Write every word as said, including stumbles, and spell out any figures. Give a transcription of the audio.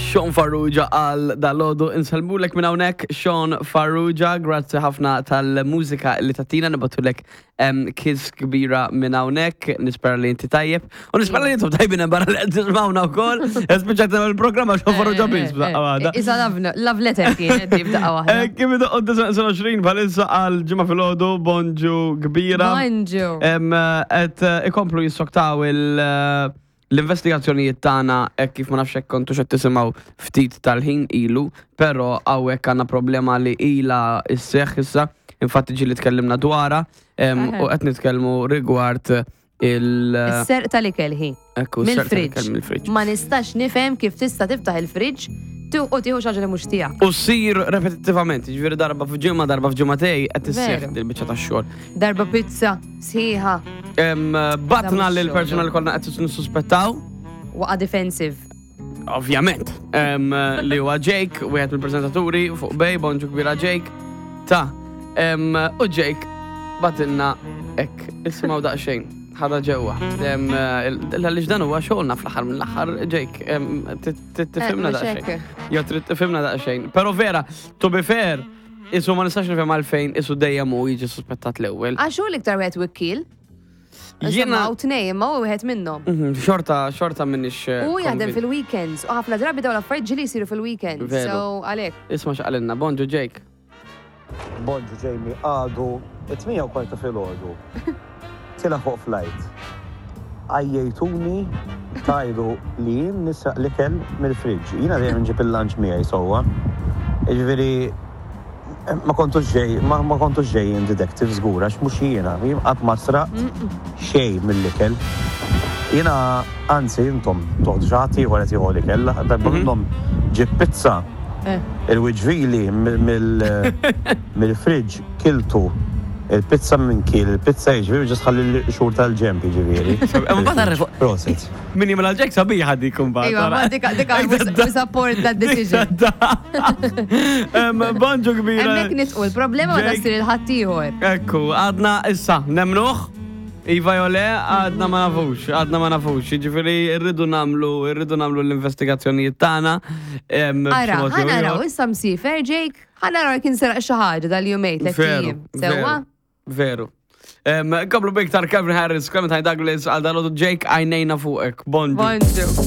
Sean Farrugia għal dalgħodu. Insellmulek minn hawnhekk, Sean Farrugia, grazzi ħafna tal-mużika li tajtna. Nibagħtulek kiss kbira minn hawnhekk, nispera li inti tajjeb. U nispera li intom tajbin barra li qed tismawna wkoll. Spiċċajt il-programma Sean Farrugia biss b'daqqa waħda. Isa love, love letter kienet di b'daqqa waħda. Eh, Kif idoqq id-disgħa bħalissa għal Ġimgħa filgħodu, bonġu kbira. Bonġu. Em, Et eh, ikomplu jissoktaw il- eh, l-investigazzjonijiet tagħna hekk kif ma nafx hekk kontu qed tisimgħu ftit tal-ħin ilu, però hawnhekk għandna problema li ilha sseħħ issa, infatti ġieli tkellimna dwarha em, Aha. u qed nitkellmu rigward il- Is-serq tal-ikel ħi. Ekku, s-serq Mill-fridge. tal-ikel mill-fridge. Ma nistax nifhem kif tista' tiftaħ il-fridge tu u tieħu xi ħaġa li mhux tiegħek. U ssir repetittivament, ġifieri darba f'ġimgħa, darba f'ġimgħatej qed isseħħ Veru. dil-biċċa tax-xogħol. Darba pizza sħiħa. Em, Batna mhux lil persuna li konna qed nissuspettaw, Waqa defensive. Ovvjament, Em, li huwa Jake, wieħed mill-preżentaturi fuq Bay, bonġu kbira, Jake. Ta' em, u Jake bagħtilna hekk, isimgħu daqsxejn, ħada ġewwa. Em, il- Għaliex dan huwa xogħolna fl-aħħar mill-aħħar, Jake, em, ti- ti- tifhimna Eh, mhux daqsxejn. hekk. Jo trid tifhimna daqsxejn. Però vera, to be fair, isu ma nistax nifhem għalfejn isu dejjem hu jiġi suspettat l-ewwel. Għax hu l-iktar wieħed wikkil. Jiena Jiena. Tnej, imma hu wieħed minnhom. Mhm, Xorta, xorta minix. eh, U jaħdem convinced. fil-weekends. U ħafna drabi dawn l-affarijiet ġieli jsiru fil-weekends. Veru. So għalhekk. Isma' x'qalilna, bonġu, Jake. Bonġu, Jamie, għadu it-tmienja u kwarta filgħodu. Tila fuq flight. Għajjejtuni tgħidu li jien nisraq l-ikel mill-fridge. Jiena dejjem nġib il-lunch miegħi sewwa. Jiġifieri ma kontux ġej, ma, ma kontux ġejjin detective żgur, għax mhux jiena, jien qatt ma sraqt xejn mill-ikel. Jiena anzi intom toħdu xi ħadd ieħor qed jieħu l-ikel, darba minnhom ġib pizza Eh. il-wiġvili mill-fridge kiltu il-pizza minn kil, il-pizza jiġifieri ġas ħalli l-xur tal-ġemp jiġifieri. Ma tarref- Prosit. Min jimla Jake sabiħa dik imbagħad. Iva, ma dika dika we support that decision. Bonġu kbira. Hemmhekk nitqu l-problema ma Jake. tasir il-ħaddieħor. Ekku, għadna issa, nemnuh? Iva jew le, għadna ma nafux, għadna ma nafux. Ġifieri, irridu nagħmlu, irridu nagħmlu l-investigazzjonijiet tagħna. em, Ara, b'xi mod ħa jew naraw, ieħor. issa msiefer Jake, ħa naraw jekk inseraq xi ħaġa dal-jumejn tliet Veru, ijiem. Sewwa? veru. Em, Komplu biktar Calvin Harris, Clementine Douglas, għal dalgħodu, Jake, għajnejna fuqek. Bonġu. Bonġu.